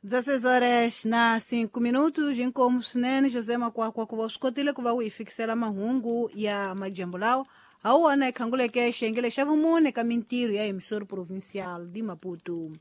16 horas na 5 minutos, inkomu swinene José Makwakwa ku va swi kotile ku va u hi fikisela mahungu ya madyambu lawa ha wona hi khanguleke xiyengele xa vumune ka mintirho ya Emissora Provincial de Maputo.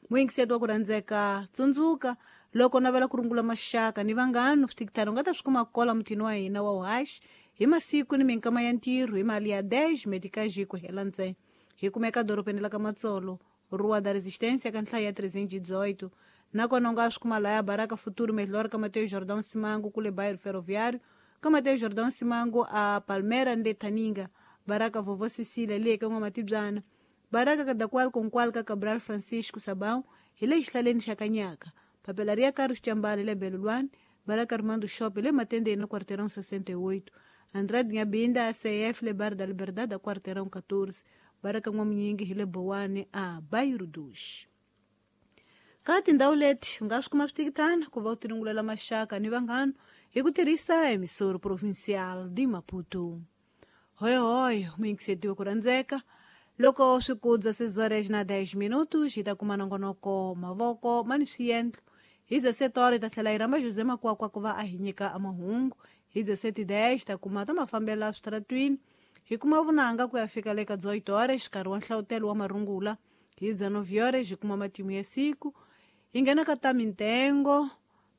Muyingiseti wa ku rhandzeka, tsundzuka loko navela ku rungula maxaka ni vanghana switikitano u nga ta swi kuma kola mutini wa hina wa uhaxi hi masiku ni minkama ya ntirho hi mali ya 10 meticage ku hela ntsena. Hi kumeka dorobeni la ka Matsolo, Rua da Resistência ka nhlayo ya 318. Nakona u nga swi kuma laya Baraka Futuro Melhor ka Mateus Jordão Simango kule bairro Ferroviário, ka Mateus Jordão Simango a Palmeiras ni le Thaninga, Baraka Vovó Cecília le ka N'wamatibyana, Baraka Kadakwal Konkwal ka Cabral Francisco Sabão hi le xihlaleni xa Kanyaka, Papelaria Carlos Chambala le Belulwani, Baraka Armando Shop le Matendeni na Quarteirão 68, Andrade Nyabinda ACF le Bar da Liberdade a Quarteirão 14, Baraka N'wamunyingi hi le Bowani a Bairro dos. Ka tindhawu leti u nga swi kuma switikitana ku va u tirungulela maxaka ni vanghana hi ku tirhisa Emissora Provincial de Maputo. Hoyohoyo muyingisetiwe ku rhandzeka, loko swi ku 16 horas na 10 minutos hi ta kuma nongonoko mavoko ma ni swiendlo. Hi 17 horas hi ta tlhela hi rhamba José Makwakwa ku va a hi nyika mahungu. Hi 17:10 hi ta kuma ta mafambelo switaratwini, hi kuma vunanga ku ya fika le ka 18 horas nkarhi wa nhlavutelo wa marungula. Hi 19 horas hi kuma matimu ya siku, hi nghena ka ta mintengo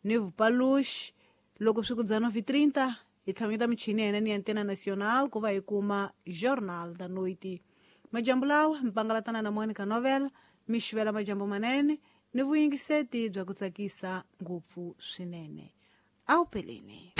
ni vupaluxi. Loko swi ku 19:30 hi tlhamanyeta michini ya hina ni Antena Nacional ku va hi kuma Jornal da Noite. Majambu lawa mpangalatana na Monica Novela, mi xivela majambu manene ni vuyingiseti bya ku tsakisa ngopfu swinene. Awupeleni.